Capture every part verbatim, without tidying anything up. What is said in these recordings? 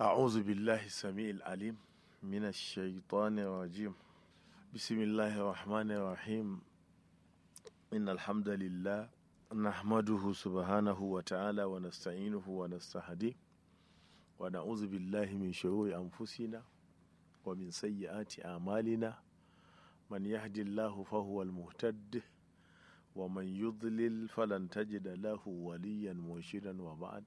أعوذ بالله السميع العليم من الشيطان الرجيم. بسم الله الرحمن الرحيم. إن الحمد لله نحمده سبحانه وتعالى ونستعينه ونستهديه ونعوذ بالله من شرور أنفسنا ومن سيئات أعمالنا. من يهد الله فهو المهتد ومن يضلل فلن تجد له وليا مرشدا وبعد.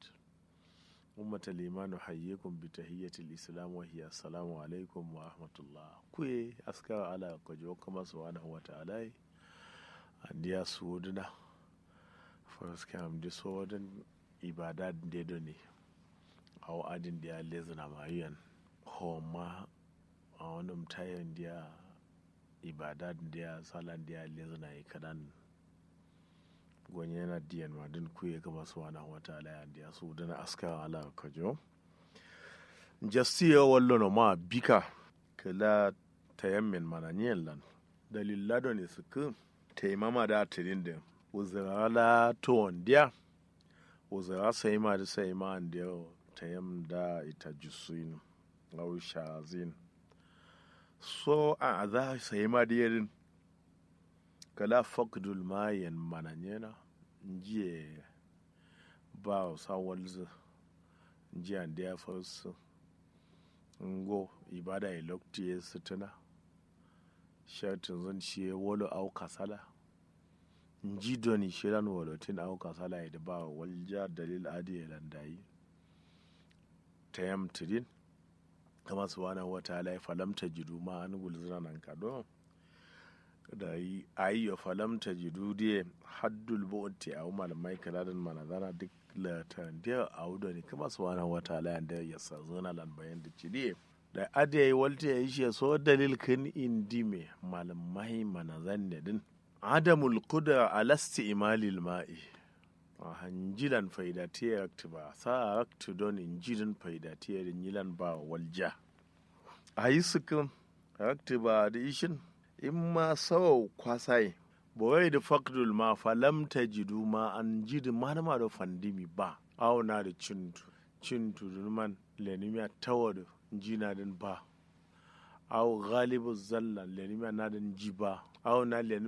أمة الإيمان أحييكم بتحية الإسلام وهي السلام عليكم ورحمة الله. Kuye askar ala kojo kama subhanahu wa ta'ala. Andiya suduna. Faras kam di sodun ibada de doni. Aw adin diya lezuna mayuyan. Homa aw num tayon diya ibada diya salan diya lezuna ikadan. Gonye na diyan ma din kuye kama subhanahu wa ta'ala ya diya suduna askar ala kojo. Jastiyo wallo no ma bika. Kala tayammin mana nyen lan dalil ladon isku. Taimama da tirin din uzura la to diya. Uzura sai ma da sai ma diya. Tayam da ita jusuin. Au shazin. So a za sai ma diya din. Kala fakdul mayen mana nyena. Njiye ba sa walzu. Njiya ndiya farsu. Ngo ibada e lokti ye sutuna. Shartin zun shi ye wolo au kasala. Nji doni shiran wolotin au kasala ye da ba walja dalil adi ye landayi. Tayam tidin. Kama subhanahu wa ta'ala falam tajidu ma an gulzuna nan kado. Da yi ayyo falam tajidu diye haddul bu'ti aw malamai kaladin manazana duk latan diye aw doni kama subhanahu wa ta'ala yanda ya sa zuna lan bayan da ci diye. Da ade yi walti ya ishe so dalil kin indi me malamai manazan ne din. Adamul qudra ala isti'malil ma'i. Aha njilan faidatiye rakti ba sa rakti don njirin faidatiye da nyilan ba walja. Ayi sikin rakti ba da ishin. Imma sawa kwasai. Bawai da fakdul ma falam tajidu ma an jidi manama da fandimi ba. Awo na da cintu cintu dunuman lenimiya tawadu njina din ba. Awo galibu zallan lenimiya na din ji ba. Awo na